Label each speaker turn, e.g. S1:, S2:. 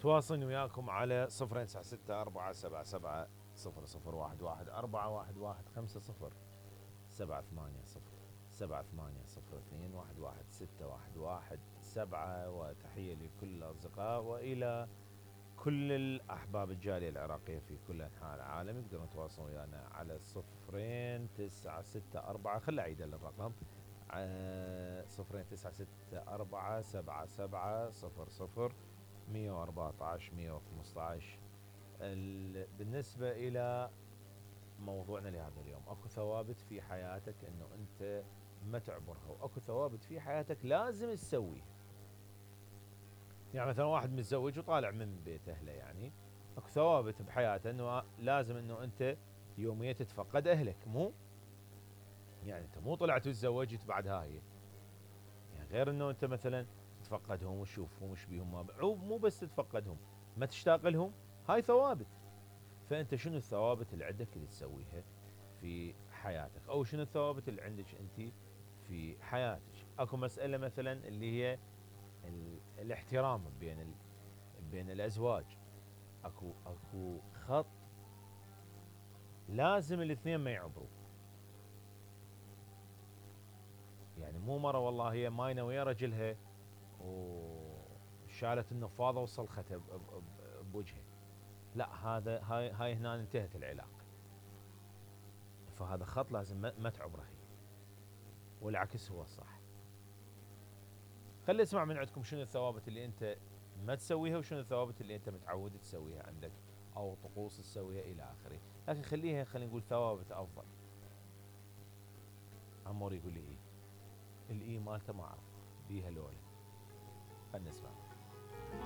S1: تواصلني وياكم على 096 477 0011 418 0 0 7 8 0 2 11 6 1 1 7. وتحية لكل الأصدقاء وإلى كل الأحباب الجالية العراقية في كل أنحاء العالم. يقدرون يتواصلون ويانا على 0964 خل أعيد الرقم 0964 114 115. بالنسبة إلى موضوعنا لهذا اليوم، اكو ثوابت في حياتك انه انت ما تعبرها، واكو ثوابت في حياتك لازم تسويها. يعني مثلا واحد متزوج وطالع من بيت اهله، يعني اكو ثوابت بحياته انه لازم انه انت يوميا تتفقد اهلك، مو يعني انت مو طلعت وتزوجت بعد هاي، يعني غير انه انت مثلا تتفقدهم وتشوفهم وش بيهم، مو بس تتفقدهم، ما تشتاق لهم، هاي ثوابت. فانت شنو الثوابت اللي عندك اللي تسويها في حياتك، او شنو الثوابت اللي عندك انت في حياتك؟ اكو مسألة مثلا اللي هي الاحترام بين الازواج، اكو خط لازم الاثنين ما يعبروا. يعني مو مرة والله هي ماينة ويا رجلها وشالت النفاضة وصلختها بوجهها، لا، هاي هنا انتهت العلاقة. فهذا خط لازم ما تعبره هي، والعكس هو الصح. خلي اسمع من عندكم شنو الثوابت اللي انت ما تسويها، وشنو الثوابت اللي انت متعود تسويها عندك، او طقوس تسويها الى اخره. لكن خلينا نقول ثوابت افضل. عمور يقول لي الاي مالته ما اعرف بيها لولا. خلينا نسمع.